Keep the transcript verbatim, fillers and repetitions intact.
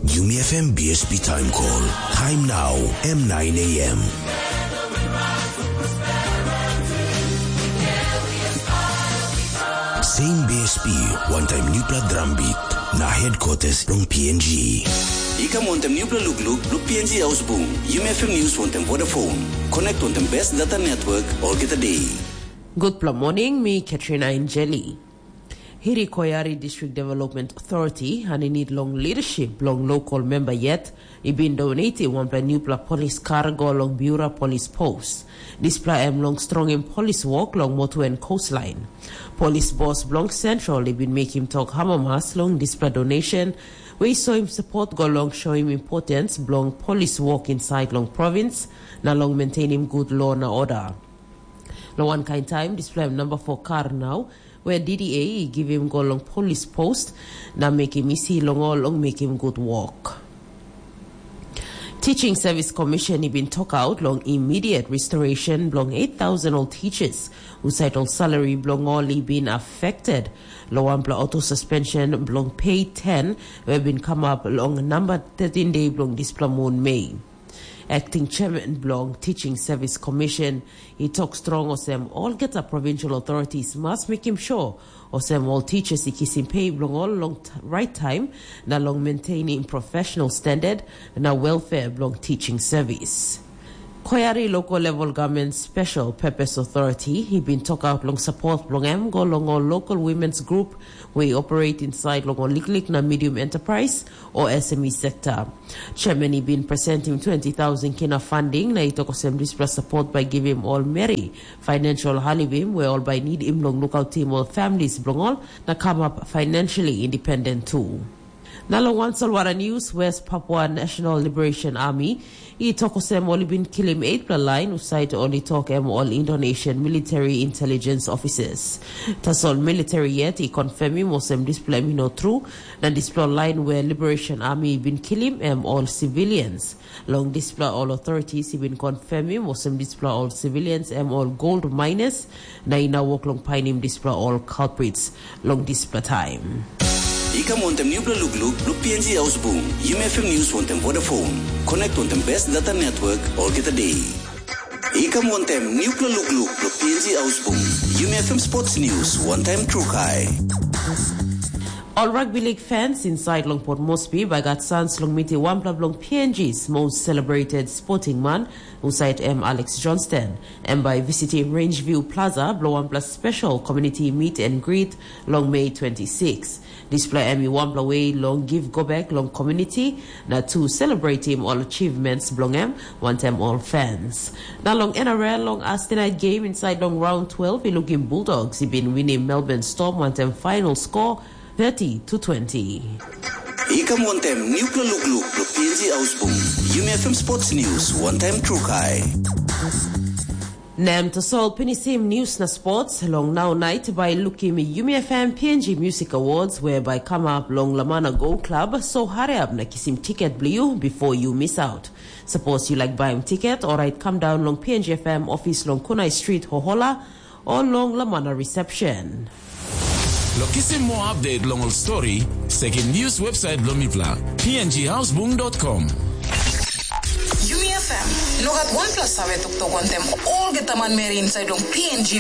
Yumi F M B S P time call. Time now, M nine A M. Same B S P, one time newpla drum beat. Na headquarters long P N G. I kam wantem newpla lukluk, long P N G Ausbung. Yumi F M News wantem Vodafone. Connect wantem best data network, olgeta day. Gutpela morning, mi Katrina Injeli. Hiri Koyari District Development Authority, and i need long leadership, long local member yet, i bin donate wanpela newpela polis kar go long Biura Polis Post. Dispela em long strongim polis wok long motu en coastline. Polis bos bilong Central i bin mekim tok amamas long dispela donation, we i soim support go long shoim importance bilong polis wok inside long province, na long maintainim good law na order. Long wankain taim, dispela em namba four kar nau, where D D A i givim go long polis post, na mekim isi long ol long mekim good work. Teaching Service Commission i bin tokaut long immediate restoration bilong eight thousand ol teachers, husat ol salary bilong ol i bin affected long wanpela auto suspension bilong pay ten, we bin kamap long namba thirteen day bilong dispela mun Mei. Acting Chairman bilong Teaching Service Commission i tok strong olsem olgeta provincial authorities mas mekim sure olsem ol teachers i kisim pei bilong ol long right time, na long maintaining professional standard na welfare bilong teaching service. Koyari Local Level Government Special Purpose Authority i bin tokaut long support bilong em go long ol local women's group we operate inside long ol liklik na medium enterprise o S M E sector. Chairman i bin presentim twenty thousand kina funding na i tok olsem dispela support by givim ol meri financial halivim we ol bai nidim long lukautim ol families bilong ol na kamap financially independent tu. Na long wan solwara news, West Papua National Liberation Army i tok olsem ol i bin kilim eightpela lain husat ol i tok em ol Indonesian military intelligence officers. Tasol military yet i confirmim olsem dispela em i no tru, na dispela lain we Liberation Army i bin kilim em ol civilians. Long dispela ol authorities i bin confirmim olsem dispela ol civilians em ol gold miners, na i no wok long painim dispela ol culprits long dispela taim. I kam wantem newpela lukluk long P N G Ausbung, Yumi F M News wantem Vodafone. Connect wantem best data network olgeta day. I kam wantem newpela lukluk long P N G Ausbung, Yumi F M Sports News, one time Trukai. Ol rugby league fans inside long Port Moresby by gat sans long meeting wanpela bilong P N G's most celebrated sporting man, husat em Alex Johnston. Em by visiting Rangeview Plaza bilong wanpela special community meet and greet long May twenty-six. Dispela em i wanpela way long give go back long community na to celebrating all achievements bilong em wantem all fans. Na long N R L long Thursday night game inside long round twelve i looking Bulldogs i been winning Melbourne Storm wantem final score thirty to twenty. I kam wantem newpela lukluk long P N G Ausbung. Yumi F M Sports News, one time Trukai. Nem tasol pinisim news na sports long now night by looking Yumi F M P N G Music Awards whereby come up long Lamana Go Club, so hurry up na kisim ticket blue before you miss out. Suppose you like buying ticket, alright, come down long P N G F M office long Kunai Street, Hohola, or long Lamana Reception. Lo kisim mo update long ol story, sekim news website lo mipla, P N G houseboom dot com. Yumi F M, no gat wanpela save toktok wantem olgeta manmeri inside long P N G